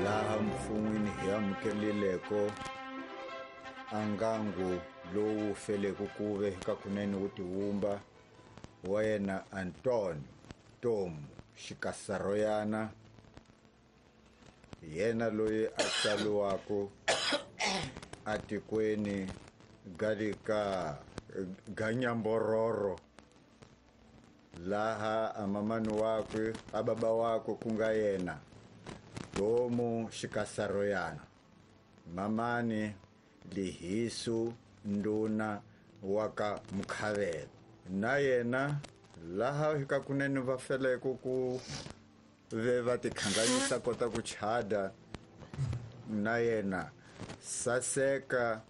Laha mfun'wini hi amukelileko a ngangu lowu feleke kuve ka kunene wu tiwumba wa yena Antonio Tomu Xikasaroyana, yena loyi a tsaliwaka atikweni ga le ka Ganyambororo, laha a mamani wakwe a baba wakwe ku nga yena Tomu Xikasaroyana, mamani Lihisu nduna wa ka Mukhavela, na yena laha ka kunene va feleke ku ve va tikhanganyisa kota ku chada na yena Saseka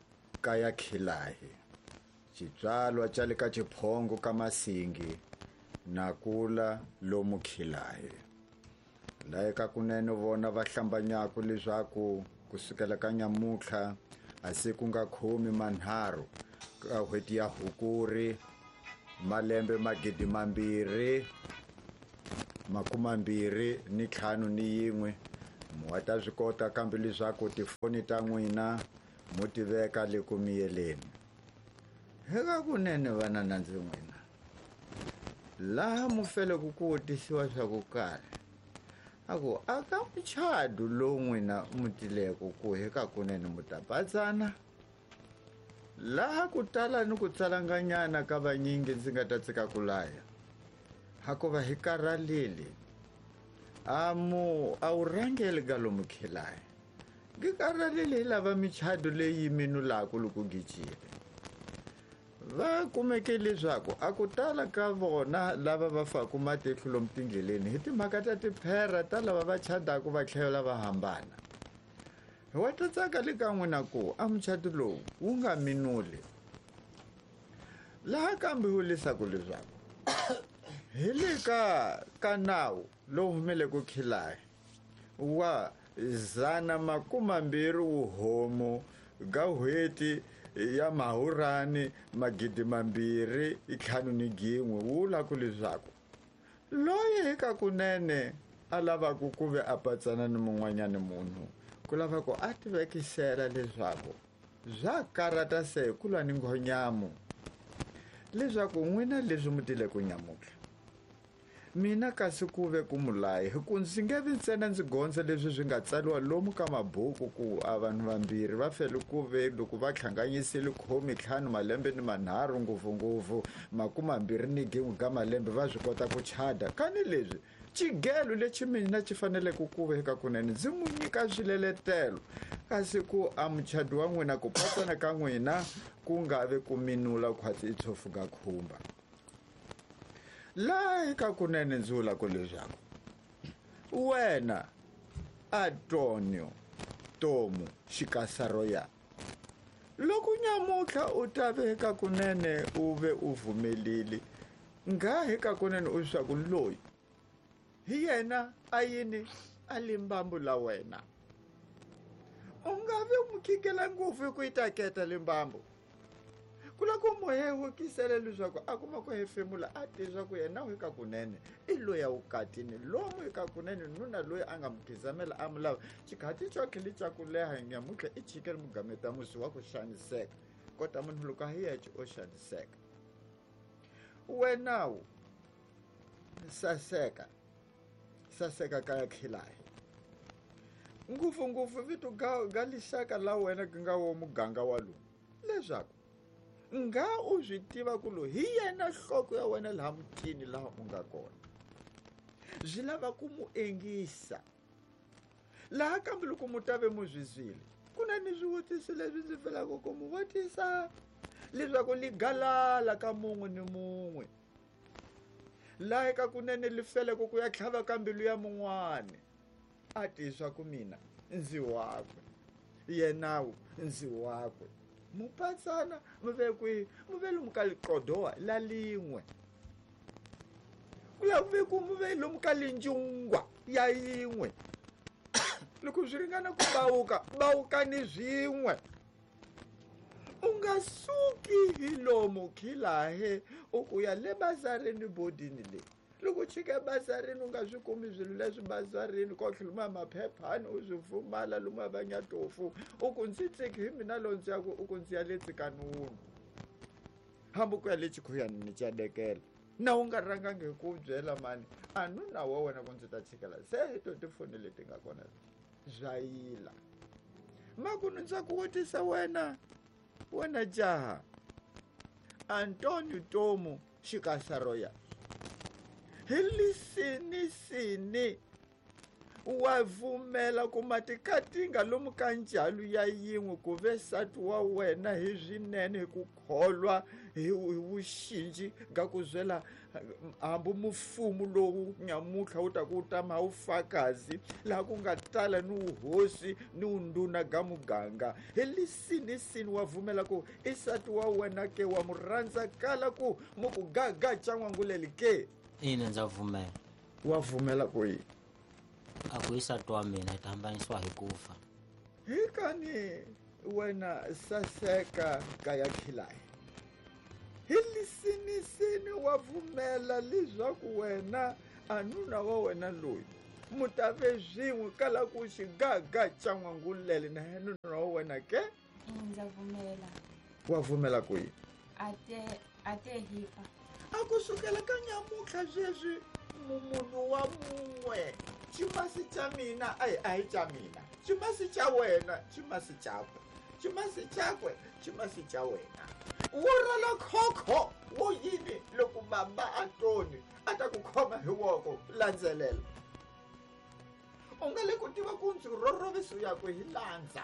ka ya Khilahi, xitswalwa xa le ka Xiphongo ka Masingi na kula lomu Khilahi. Laha ka kunene vona va hlambanyaka leswaku kusukela ka nyamutlha a se ku nga khomi manharhu ka n'hweti ya Hukuri malembe 2021, mu wa ta swi kota kambe leswaku tifoni ta n'wina mu ti veka le ku miyeleni. Eka kunene vana na ndzi n'wina, laha mu feleke ku vutisiwa swa ku karhi, a ku a ka muchadu lowu n'wina mu tileko ku eka kunene mu ta patsana. Laha ku tala ni ku tsalanganyana ka vanyingi ndzi nga ta tsika ku laya, hakuva hi karhalile. A mu a wu rhangeli ka lomu khilayi. Ngi karhalile hi lava michado leyi minulaka loko gijile. Va kumeke leswaku a ku tala ka vona lava va faku matihlo lomu tindleleni hi timhaka ta tiphera ta lava va chadaka va tlhela va hambana. Hi wa ta tsaka le ka n'wina ku a muchato lowu wu nga minuli. Laha kambe wu leswaku leswaku hi le ka nawu lowu humeleke Khilayi wa 120 wuhomu ga n'hweti ya Mahurani 2051, wu vula ku leswaku loyi hi ka kunene a lavaka ku ve a patsana ni mun'wanyani munhu, ku lava ku a tivekisela leswaku swa karata se ku lwa ni nghonyamu, leswaku n'wina leswi mu tile ku nyamutlha mina kasi ku ve ku mulayi, hi ku ndzi nge vi ntsena ndzi gondza leswi swi nga tsariwa lomu ka mabuku ku a vanhu vambirhi va fele ku ve loko va hlanganyisile khomi ntlhanu malembe ni manharhu ngopfungopfu makumambirhi ni gin'we ka malembe va swi kota ku chada. Kani leswi xigelo lexi mina xi faneleke ku ve eka kunene ndzi mu nyika swileletelo, kasi ku a muchado wa n'wina ku patsana ka n'wina ku nga vi ku minula khwatsi i tshofu ga khumba. Laha eka kunene ndzi vula ku leswaku wena Antonio Tomu Xikasaroya, loko nyamutlha u ta ve eka kunene u ve u vumelile nga eka kunene u swa ku loyi hi yena a yini a limbambu la wena, u nga vi mu khikela ngopfu hi ku yi ta keta limbambu. Ku lava ku mu hehukisela leswaku a kuma ku hefemula a tiva swa ku yena u eka kunene i loyi a vukatini lomu eka kunene nuna loyi a nga mu khizamela a mu lava xikhati xo tlhela xa ku leha nyamutlha i chikele mugameta musi wa ku xaniseka kota munhu loko a hi yexe o xaniseka. Wenawu saseka saseka ka ya khilahi ngopfungopfu vito ga lixaka la wena ku nga wo muganga wa lowu, leswaku nga u swi tiva ku loyi hi yena nhloko ya wena laha mutini laha u nga kona, swi lava ku mu engisa. Laha kambe loko mu ta ve mu swi zwile, ku na ni swivutiso leswi ndzi pfelaka ku mu vutisa leswaku li galala ka mun'we ni mun'we laha eka kunene li feleke ku ya tlhava ka mbilu ya mun'wani, a tiswa ku mina ndzi wakwe, yenawu ndzi wakwe. Mupatsana mu ve kwihi? Mu ve lomu ka liqodowa la lin'we, ku ya ve ku mu ve lomu ka linjungwa ya yin'we. Loko swi ringana ku bawuka, bawukani swin'we. U nga suki hi lomu khilahe u ku ya le bazareni bodini leyi. Loko u chika bazarini u nga swi kumi swilo leswi bazarini kotlhe lumuya maphephani u swi pfumala lumuya va nyatofu u ku ndzi tsiki hi mina lowu ndzi yaku u ku ndzi ya le tsikanunu hambi ku ya le chikhuyani ni cadekela na u nga rhangangi hi ku byela mani a nuna wa wena ku ndzi ta chikela se hi to tifoni leti nga kona bya yila makunu ndza ku vutisa wena wena jaha Antonio Tomu Xikasaroya hi lisinisini wa vumela ku matikatinga lomu ka njalu ya yin'we ku ve nsati wa wena hi swinene hi ku kholwa hi vuxinji ga ku zwela hambi mufumu lowu nyamutlha wu ta ku tama wu fakazi laha ku nga tala ni wuhosi ni wundhuna ga muganga hi lisinisini wa vumela ku i nsati wa wena ke wa mu rhandza kala ku mu ku gaga ca n'wanguleli ke? Ina, ndza pfumela. Wa pfumela ku yini? A ku i nsati wa mina, hi ta hambanisiwa hi ku fa. Hi kani wena saseka kaya khilayi. Hi lisinisini wa pfumela leswaku wena a nuna wa wena loyi mu ta ve swin'we kala ku xigaga ca n'wangulele na yena nuna wa wena ke? Ndza pfumela. Wa pfumela ku yini? A te a te hi fa. A ku sukela ka nyamutlha sweswi munhu wa mun'we ximasi xa mina a hi a hi xa mina ximasi xa wena ximasi xakwe ximasi xakwe ximasi xa wena wo rhala khokho wo yini loko baba Antoni a ta ku khoma hi voko landzelela u nga le ku tiva ku ndzi rhorhovisi u ya ku hi landza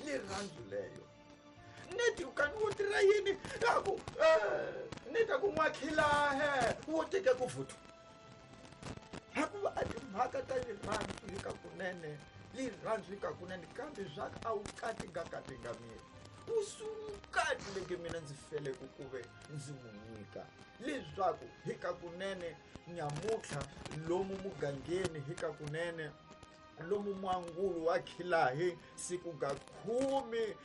lirhandzu leyo neti kani wo tirha yini a ku ni ta ku n'wakhilahe wo teke ku vuthu hikuva a timhaka ta lirhandzu hi ka kunene lirhandzu hi ka kunene kambe swa a wu kati nga kati nga miri wu sukati leke mina ndzi feleke ku ve ndzi n'wi nyika leswaku hi ka kunene nyamutlha lomu mugangeni hi ka kunene lomu mwangulo wa khilahi siku ga khume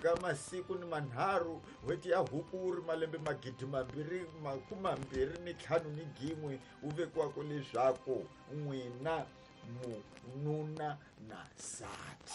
ga masiku ni manharhu n'hweti ya hukuri malembe 2025 ni gin'we wu vekiwaka leswaku n'wina mununa na nsati.